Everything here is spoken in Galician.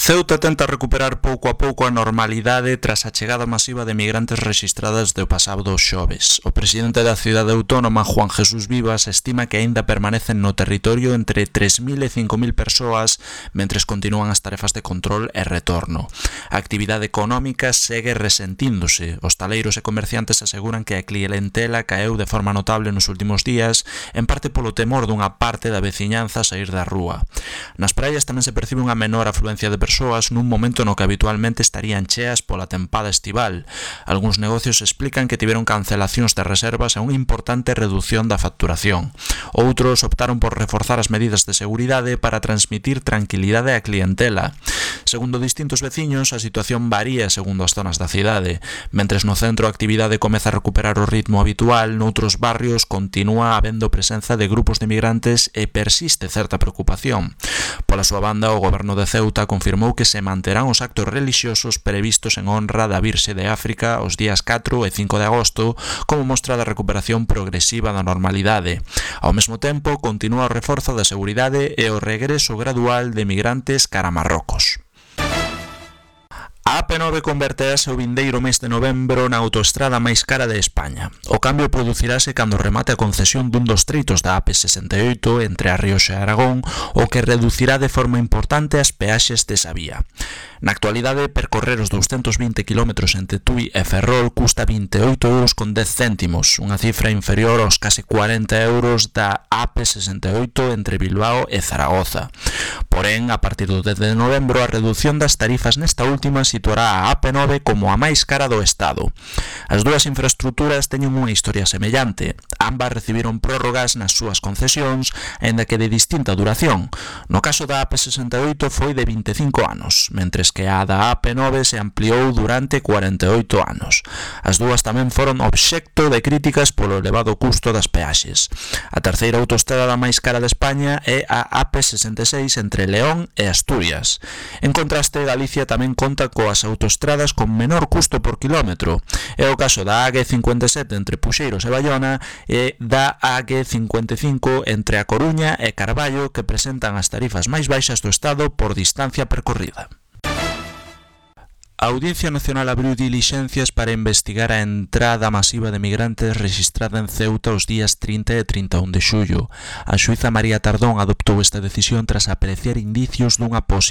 Ceuta tenta recuperar pouco a pouco a normalidade tras a chegada masiva de migrantes rexistradas do pasado xoves. O presidente da cidade autónoma, Juan Jesús Vivas, estima que aínda permanecen no territorio entre 3.000 e 5.000 persoas mentres continúan as tarefas de control e retorno. A actividade económica segue resentíndose. Hostaleiros e comerciantes aseguran que a clientela caeu de forma notable nos últimos días, en parte polo temor dunha parte da veciñanza a sair da rúa. Nas praias tamén se percibe unha menor afluencia de persoas nun momento no que habitualmente estarían cheas pola tempada estival. Algúns negocios explican que tiveron cancelacións de reservas e unha importante reducción da facturación. Outros optaron por reforzar as medidas de seguridade para transmitir tranquilidade á clientela. Segundo distintos veciños, a situación varía segundo as zonas da cidade. Mentres no centro a actividade comeza a recuperar o ritmo habitual, noutros barrios continúa habendo presenza de grupos de migrantes e persiste certa preocupación. Pola súa banda, o goberno de Ceuta confirmou que se manterán os actos relixiosos previstos en honra da Virxe de África os días 4 e 5 de agosto como mostra da recuperación progresiva da normalidade. Ao mesmo tempo, continúa o reforzo da seguridade e o regreso gradual de migrantes cara a Marrocos. A AP9 converterase o vindeiro mes de novembro na autoestrada máis cara de España. O cambio producirase cando remate a concesión dun dos treitos da AP68 entre a Rioxa e Aragón, o que reducirá de forma importante as peaxes desa vía. Na actualidade, percorrer os 220 km entre Tui e Ferrol custa 28,10 €, unha cifra inferior aos case 40 € da AP68 entre Bilbao e Zaragoza. Porén, a partir do 10 de novembro, a reducción das tarifas nesta última situará a AP9 como a máis cara do Estado. As dúas infraestruturas teñen unha historia semellante. Ambas recibiron prórrogas nas súas concesións, aínda que de distinta duración. No caso da AP68 foi de 25 anos, mentres que a da AP9 se ampliou durante 48 anos. As dúas tamén foron obxecto de críticas polo elevado custo das peaxes. A terceira autoestrada máis cara de España é a AP66 entre León e Asturias. En contraste, Galicia tamén conta coas autoestradas con menor custo por kilómetro. É o caso da AG57 entre Puxeiros e Baiona e da AG55 entre A Coruña e Carballo, que presentan as tarifas máis baixas do Estado por distancia percorrida. A Audiencia Nacional abriu dilixencias para investigar a entrada masiva de migrantes rexistrada en Ceuta os días 30 e 31 de xullo. A xuíza María Tardón adoptou esta decisión tras apreciar indicios dunha